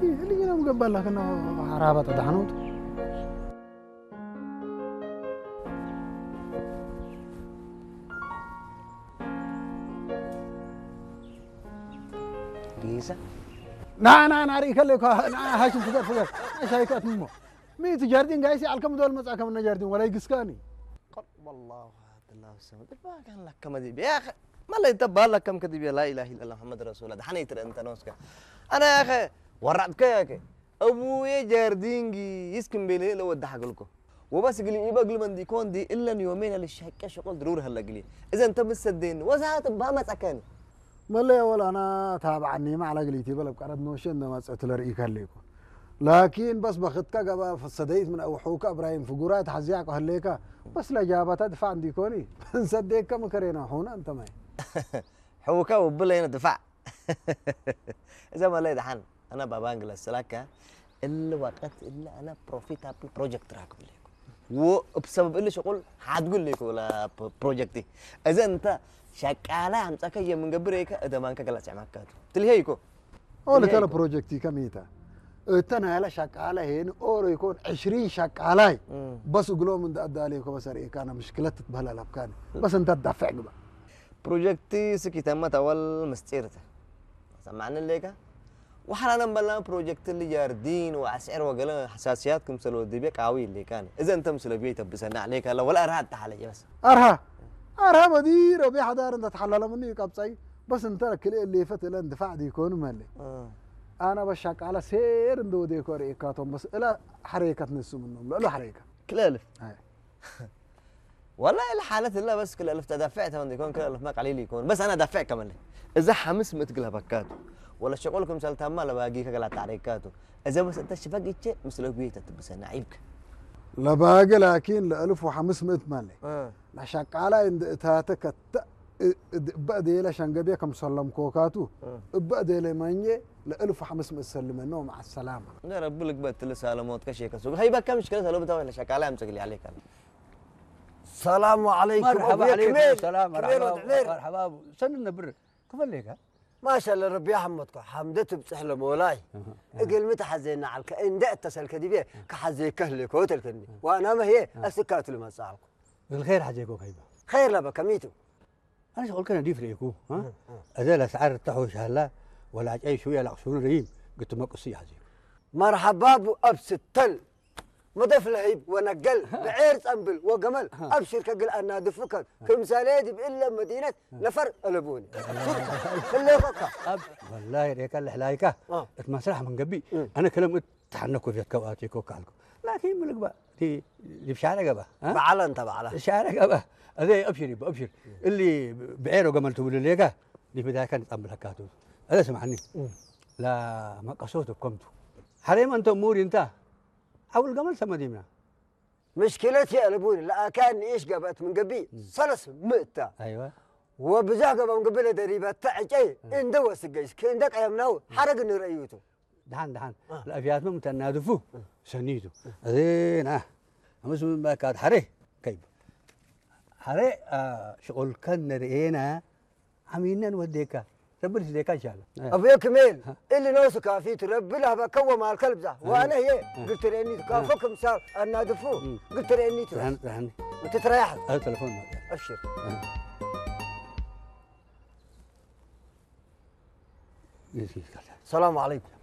ልጅ ነው ገባላክና ሓራባ ተዳሕኖት ጌሳ ና ና ና ርኢ ከለይ እኳ ና ሃሽም ፍገር ፍገር ሻይካት እሞ ሚእቲ ጃርዲን ጋይሲ ኣልከም ዶል መጻ ከም ነጃርዲን ወላይ ግስካኒ والله هات الله السماء تبارك لك كما دي يا اخي ما لا يتبع لك كم كذب لا اله الا الله محمد رسول الله حنيت انت نوسك انا يا اخي ورعتك يا اخي ابوي جاردينجي يسكن بيلي لو ودح لكم وبس قلي يبقى قلي من ديكون دي الا يومين للشقه شغل ضرور هلا قلي اذا انت مستدين وزعت بها ما تكاني መለያ ወላ ኣና ታብዓኒ ማዕላ ግሊቲ በለ ኣብ ቀረብ መወሸ እንደ መጸት ለርኢ ከለይኩ ላኪን በስ በኽትካ ገባ ፈሰደይት ምን ኣውሑካ እብራሂም ፍጉራ ተሓዚያ ከህለይካ በስ ለጃባታ ድፋዕ እንዲኮኒ እንሰደይካ ምከሬና ሑና እንተማይ حوكا وبلينا دفاع اذا ما لا دحن انا بابانجلا سلاكا اللي وقت اللي انا بروفيتابل بروجكت راكب ليكو وبسبب اللي شغل حتقول ليكو لا بروجكتي اذا انت شقاله عم تكي من قبريك اذا ما انك قلت معكاتو تلهيكو ኦለ ተለ ፕሮጀክቲ ከሚታ እተ ናያለ ሸቃለ ሄን ኦሮ ይኮን ዕሽሪን ሸቃላይ በስ እግሎም እንደ ኣዳሌ ኮበሰር ኤካና ምሽክለት ትትበህል ኣለብካን በስ እንተ ዳፍዕ ግባ ፕሮጀክቲ ስኪተመት ኣወል ምስጢርተ ሰማዕኒ ሌካ ወሓላነ በላ ፕሮጀክት ልጃርዲን ወኣስዕር ወገለ ሓሳስያት ክምሰል ወዲቤ ቃዊ ሌካን እዘ እንተ ምስለ ብዮ ይተብሰና ሌካ ለ ወላ ኣርሃ ኣተሓለየ በስ ኣርሃ ኣርሃ በዲ ረቢ ሓዳር እንተ ተሓላለሙኒ ቀብጻይ በስ እንተ ክልኤ ሌፈት እለ እንድፋዕ ዲኮኑ መለ ኣና በሻቃላ ሴር እንደ ወዴኮ ርኤካቶም በስ እለ ሓረይካ ትነሱ ምኖም ልዕሉ ሓረይካ ክልእልፍ والله الحالة لا بس كل ألف تدافع تمام يكون كل ألف ما قليل يكون بس أنا دافع كمان إذا حمس متقلها بكات ولا شغل كم سالتها ما لباقي كلا تعريكاتو إذا بس أنت شفاق إيش مسلوك بيه تتبس أنا عيبك ለባገ ላኪን ለእልፍ ወሓምስ ምእት ማለ ናሻቃላይ እንደ እታተ ከተ እበ ዴለ ሸንገቤ ከም ሰለምኮካቱ እበ ዴለ ማኘ ለእልፍ ወሓምስ ምእት ሰልመኖ መዓ ሰላማ نرى بلك بقى تلسى على موت كشي كسوق هي بقى مشكلة لو بتاوي نشاك على أمسك اللي عليك أنا السلام عليكم مرحبا عليكم السلام مرحبا مرحبا سن النبر كيف ليك ما شاء الله ربي يحمدك حمدت بصح لمولاي እግል ምትሓዘና ዓልከ እንደ እተሰልከ ዲቤ ክሓዘ ከህልኮ ተልከኒ ዋና መህየ ኣስካቱ ልመጻልኩ الخير حاجيكو كيف خير ለበ ከሚቱ ኣነ ሸቆልከ ነዲፍ ርእኩ እዘ ለስዓር ተሕውሽ ሃላ ወላዕጫይ ሽውያ ላቕሱኑ ርሂም ግትመቅሱ ይሓዚሩ መርሓባቡ ኣብ ስተል መደፍ ለህይብ ወነገል ብዔር ጸንብል ወገመል ኣብ ሽርከ ግል ኣናድፉከን ክምሳሌ ድብእለ መዲነት ነፈር እለቡኒ ህሌኸካ ወላሂ ሬካ ልሕላይካ እት መስራሕ መንገቢ ኣነ ከለም እት ተሓነኩ ፌት ከብኣት ይኮካ ኣልኩ ላኪን ምልግባ ዲ ዲብ ሻረ ገባ እ? በዓላ እንተ በዓላ ሻረ ገባ እዚ ኣብሽር ይባ ኣብሽር እሊ ብዔሮ ገመል ትብሉ ሌጋ ዲብ ዳካ ንጻምብለካ ቱ እዚ ስማዕኒ ላ መቀሶት ከምቱ ሓሬማ እንተ ሙሪ እንታ ሓውል ገመል ሰመዲምና ምሽኪለት የእልቡን ለኣካን ንኢሽ ገበእት ምን ገቢ ሰለስ ምእታ ኣይዋ ወብዛህ ገበ ምን ገቢ ለደሪበተ ዕጨይ እንደ ወስገይስ ከእንደ ቀየምናው ሓረግ ንረእዩቱ ደሓን ደሓን ለእፍያትም ተናድፉ ሰኒቱ እዚና ኣምስ ምንባካት ሓሬ ከይብ ሓሬ ሽቁልከን ንርእየና ዓሚነን ወዴካ ረቢ ርስዴካ እንሻላ أبويا كميل اللي نوسك في تربي لها بكوة مع الكلب ذا وأنا هي قلت لي إني تكافك مسار أنا دفو قلت لي إني تروح ርሃኒ وتتريح ኣብ ተለፎን መ أبشر السلام عليكم